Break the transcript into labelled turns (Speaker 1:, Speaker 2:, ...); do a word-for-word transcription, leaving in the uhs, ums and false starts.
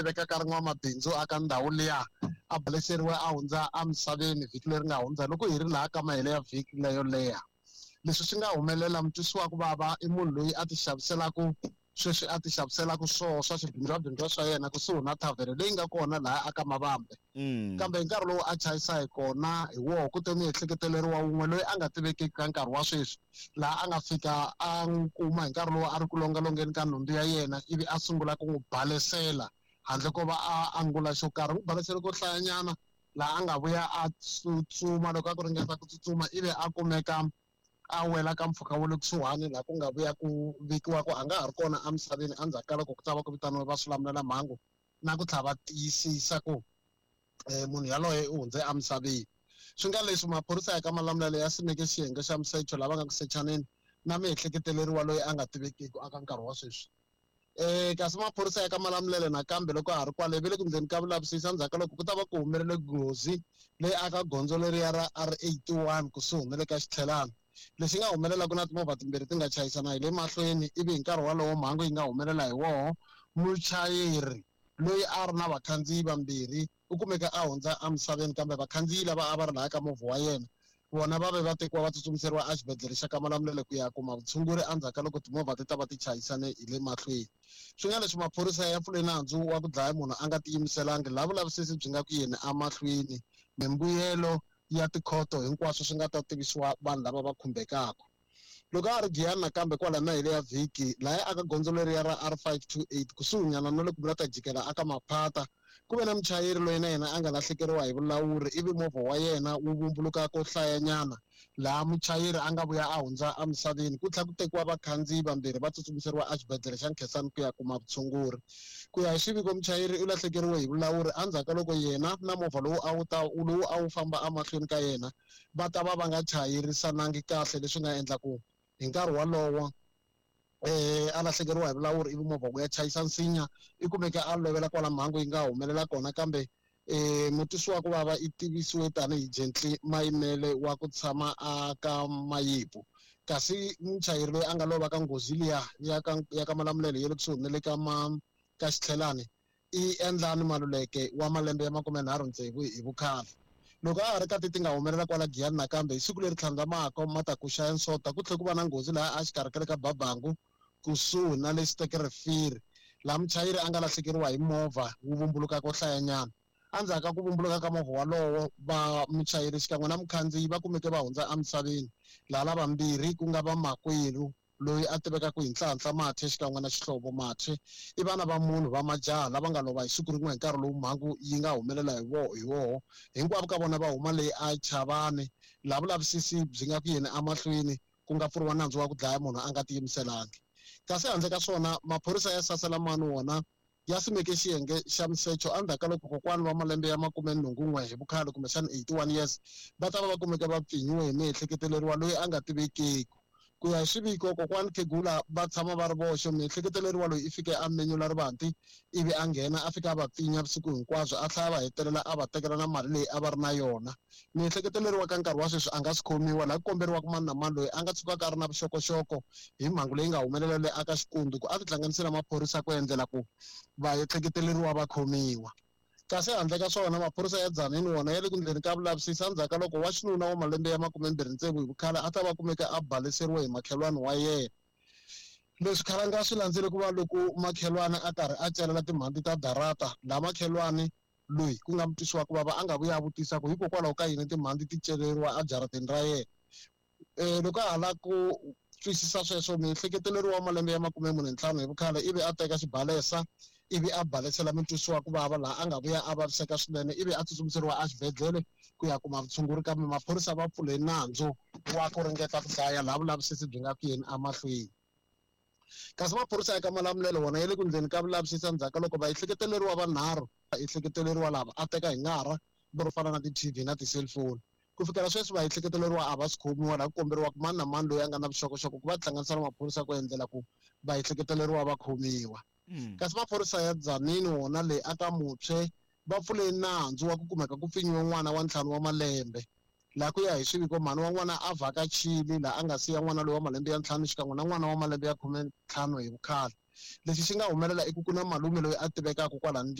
Speaker 1: tivekaka ri n'wamabindzu aka ndhawu liya a baleseriwe a hundza emisaveni vhiki leri nga hundza loko hi ri laha ka mahelo ya vhiki leyo leha. Leswi swi nga humelela mutwisiwa ku vava i munhu loyi a ti xaviselaka sweswi a ti xaviselaka swoho swa swibindzwabindzwa swa yena kusuhi na thavhele leyi nga kona laha aka Mavambe. Kambe hi nkarhi lowu a chayisa hi kona hi woho ku te miehleketeleriwa wun'we loyi a nga tivekiki ka nkarhi wa sweswi laha a nga fika a n'wi kuma hi nkarhi lowu a ri ku longalongeni ka nhundzu ya yena ivi a sungula ku n'wi balesela handle ko va a angula xo karhi. N'wi balesele ko hlayanyana laha a nga vuya a tsutsuma loko a ku ringeta ku tsutsuma ivi a kumeka a wela ka mpfhuka wa le kusuhani laha ku nga vuya ku vikiwa ku a nga ha ri kona emisaveni endzhaku ka loko ku ta va ku vitaniwe va swilamulelamhangu na ku tlhela va tiyisisa ku munhu yaloye u hundze emisaveni. Swi nga leswi maphorisa ya ka Malamulele ya simeke xiyenge xa misecho lava nga ku sechaneni na miehleketeleriwa loyi a nga tivekiki aka nkarhi wa sweswi. Eh kasi maphorisa ya ka Malamulele nakambe loko ha ri kwale ve le ku ndleni ka vulavisisi endzhaku ka loko ku ta va ku humelele nghozi leyi aka gondzo leriya ra R eighty-one kusuhi na le ka Xitlhelana. Lexi nga humelela ku na timovha timbirhi ti nga chayisana hi le mahlweni ivi hi nkarhi wolowo mhangu yi nga humelela hi woho muchayeri loyi a ri na vakhandziyi vambirhi u kumeka a hundza emisaveni kambe vakhandziyi lava a va ri laha ka movha wa yena vona va ve va tekiwa va tsutsumiseriwa exibedhlele xa ka Malamulele ku ya kuma vutshunguri endzhaku ka loko timovha ti ta va ti chayisane hi le mahlweni. Swi nga leswi maphorisa ya pfule nandzu wa ku dlaya munhu a nga tiyimiselangi laha vulavisisi byi nga ku yeni emahlweni mimbuyelo ya tikhoto hinkwaswo swi nga ta tivisiwa vanhu lava va khumbekaka. Loko a ri Giyani nakambe kwala na hile ya vhiki laha aka gondzo leriya ra R five two eight kusuhinyana na le ku vula ta jikela aka Maphata ku ve na muchayeri loyi na yena a nga lahlekeriwa hi vulawuri ivi movha wa yena wu vumbuluka ko hlayanyana laha muchayeri a nga vuya a hundza emisaveni ku tlhela ku tekiwa vakhandziyi vambirhi va tsutsumiseriwa exibedhlele xa Nkhensani ku ya kuma vutshunguri. Ku ya hi xiviko muchayeri u lahlekeriwe hi vulawuri endzhaku ka loko yena na movha lowu a wu ta lowu a wu famba emahlweni ka yena va ta va va nga chayerisanangi kahle leswi nga endla ku hi nkarhi wolowo eh a lahlekeriwa hi vulawuri ivi movha ku ya chayisa nsinya i kumeka a lovela kwala mhangu yi nga humelela kona kambe eh mutwisiwa ku vava i tivisiwe tanihi Gently Mayimele wa ku tshama aka Mayipu. Kasi muchayeri loyi a nga lova ka nghozi liya ya ka ya ka Malamulele ya le kusuhi na le ka ma ka Xitlhelani i Endlani Maluleke wa malembe ya makume nharhu tsevu hi vukhale. Loko a ha ri ka ti ti nga humelela kwala Giyani nakambe hi siku leri tlhandlamaka matakuxa ya Nsota ku tlhela ku va na nghozi laha a xikarhi ka le ka Babangu kusuhi na le Sterkrivier laha muchayeri a nga lahlekeriwa hi movha wu vumbuluka ko hlayanyana. Endzhaku ka ku vumbuluka ka movha walowo va muchayeri xikan'we na mukhandziyi va kumeke va hundza emisaveni laha lavambirhi ku nga va makwerhu loyi a tivekaka hi Nhlanhla Mathe xikan'we na Xihlovo Mathe i vana va munhu va majaha lava nga lova hi siku rin'we hi nkarhi lowu mhangu yi nga humelela hi wo hi woho hinkwavo ka vona va huma leyi a Chavani laha vulavisisi byi nga ku yeni emahlweni ku nga pfuriwa nandzu wa ku dlaya munhu a nga tiyimiselangi. Kasi handle ka swona maphorisa ya Saselamani wona ya simeke xiyenge xa misecho endzhaku ka loko kokwani wa malembe ya makume nhungu n'we hi vukhale kumbexana eighty-one years va ta va va kumeka va pfinyiwe hi miehleketeleriwa loyi a nga tivekeki. Ku ya hi xiviko kokwani Khegula va tshama va ri voxe miehleketeleriwa loyi i fike a menyula rivanti ivi a nghena a fika a va pfinya vusiku hinkwabyo a tlhela va hetelela a va tekela na mali leyi a va ri na yona. Miehleketeleriwa ka nkarhi wa sweswi a nga swi khomiwa laha ku komberiwaka mani na mani loyi a nga tshukaka a ri na vuxokoxoko hi mhangu leyi nga humelela leyi aka Xikundu ku a tihlanganise na maphorisa ku endlela ku vaehleketeleriwa va khomiwa. Kasi handle ka swona maphorisa ya Dzanini wona ya le ku ndleni ka vulavisisi endzhaku ka loko wa xinuna wa malembe ya makumembirhi tsevu hi vukhale a ta va kumeka a baleseriwe hi makhelwani wa yena. Leswi khalanga swi landzele ku va loko makhelwani a karhi a celela timhandzi ta darata laha makhelwani loyi ku nga mutwisiwa ku vava a nga vuya a vutisa ku hikokwalaho ka yini timhandzi ti celeriwa ejarateni ra yena. Eh loko a ha lava ku twisisa sweswo miehleketeleriwa wa malembe ya makume mune ntlhanu hi vukhale ivi a teka xibalesa ivi a balesela mutwisiwa ku vava laha a nga vuya a vaviseka swinene ivi a tsutsumiseriwa exibedhlele ku ya kuma vutshunguri kambe maphorisa va pfule nandzu wa ku ringeta ku dlaya laha vulavisisi byi nga ku yeni emahlweni. Kasi maphorisa ya ka Malamulele wona ya le ku ndleni ka vulavisisi endzhaku ka loko vaehleketeleriwa vanharhu vaehleketeleriwa lava a teka hi ngara ro fana na ti-T V na ti-cellphone. Ku fikela sweswi vaehleketeleriwa a va swi khomiwa laha ku komberiwaka mani na mani loyi a nga na vuxokoxoko ku va tihlanganisa na maphorisa ku endlela ku vaehleketeleriwa va khomiwa. Kasi maphorisa ya Dzanini wona leyi aka Mutshwe va pfule nandzu wa ku kumeka ku pfinyiwe n'wana wa ntlhanu wa malembe laha ku ya hi xiviko mhani wa n'wana a vhakachile laha a nga siya n'wana loyi wa malembe ya ntlhanu xikan'we na n'wana wa malembe ya khume ntlhanu hi vukhale. Lexi xi nga humelela i ku ku na malume loyi a tivekaka kwala ndyangu.